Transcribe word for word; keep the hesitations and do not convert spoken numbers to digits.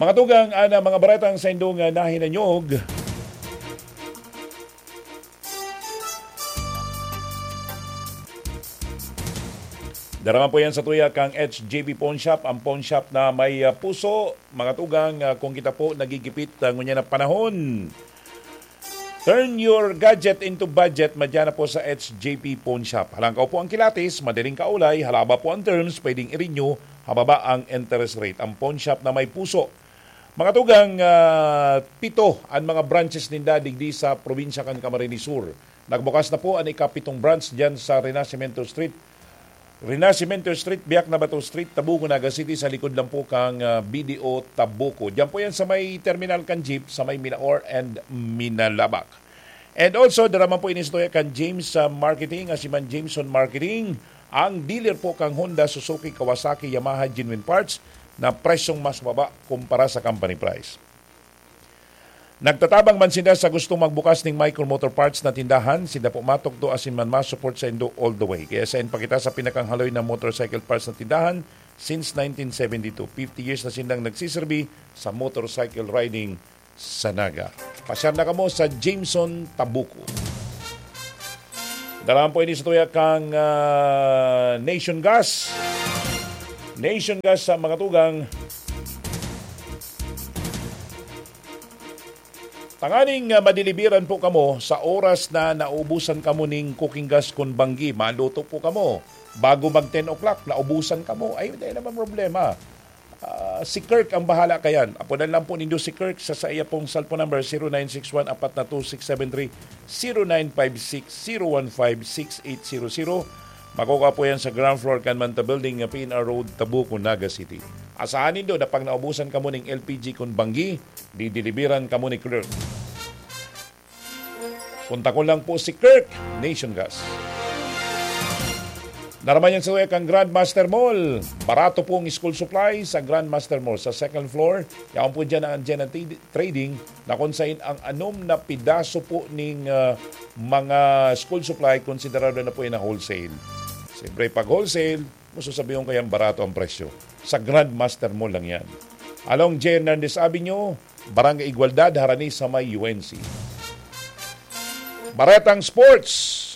Mga tugang, ana mga baretang sa indong, ah, nahinanyog. Daraman po yan sa tuya kang H J B Pawn Shop, ang pawn shop na may, ah, puso. Mga tugang, ah, kung kita po nagigipit, ah, ngunyan na panahon, turn your gadget into budget, madyan na po sa H J P Pawn Shop. Halangkaw po ang kilatis, madaling kaulay, halaba po ang terms, pwedeng i-renew, hababa ang interest rate. Ang pawn shop na may puso. Mga tugang, ah, pito an mga branches ninda digdi sa probinsya kan Camarines Sur. Nagbukas na po an ikapitong branch diyan sa Renacimiento Street. Renacimiento Street, Biak na Bato Street, Tabuco, Naga City, sa likod lang po kang, ah, B D O Tabuco. Diyan po yan sa may terminal kan jeep, sa may Minaor and Minalabac. And also, daraman po ini sa tuya kan James, ah, Marketing, asiman Jameson Marketing, ang dealer po kang Honda, Suzuki, Kawasaki, Yamaha, Genuine Parts na presyong mas baba kumpara sa company price. Nagtatabang man sinda sa gustong magbukas ning Micro Motor Parts na tindahan, sinda po matukdo asin man ma-support sa indo all the way. Kaya sain pa kita sa pinakang haloy na motorcycle parts na tindahan since nineteen seventy-two. Fifty years na sindang nagsiserbi sa motorcycle riding sa Naga. Pasyar na kamo sa Jameson Tabuco. Daraman po ini sa tuya kang, ah, Nation Gas. Nation Gas sa mga tugang. Tanganing, ah, madilibiran po kamo sa oras na naubusan kamo ning cooking gas kun banggi, maluto po kamo. Bago mag ten o'clock, naubusan kamo. Ay, dai naman problema. Ah, si Kirk ang bahala kayan. Apodan lang po nindo si Kirk sa, sa iya pong cellphone number, zero nine six one, apat na two six seven three, zero nine five six, zero one five, six eight zero zero. Makukuha po yan sa ground floor kan Manta Building, P N R Road, Tabuco, Naga City. Asahan nindo na pag naubusan kamo ning L P G kun banggi, didilibiran kamo ni Kirk. Kontakon lang po si Kirk, Nation Gas. Daraman yan sa tuya kang Grandmaster Mall. Barato po ang school supply sa Grandmaster Mall. Sa second floor, yaon po dyan ang Anjena T-, Trading na kung sain ang anom na pidaso po ning, ah, mga school supply, konsiderado na po yan na wholesale. Siyempre, pag wholesale, masasabihon ko yan, barato ang presyo. Sa Grandmaster Mall lang yan. Along J. Hernandez Avenue, Barangay Igualdad, harani sa may U N C. Baretang Sports.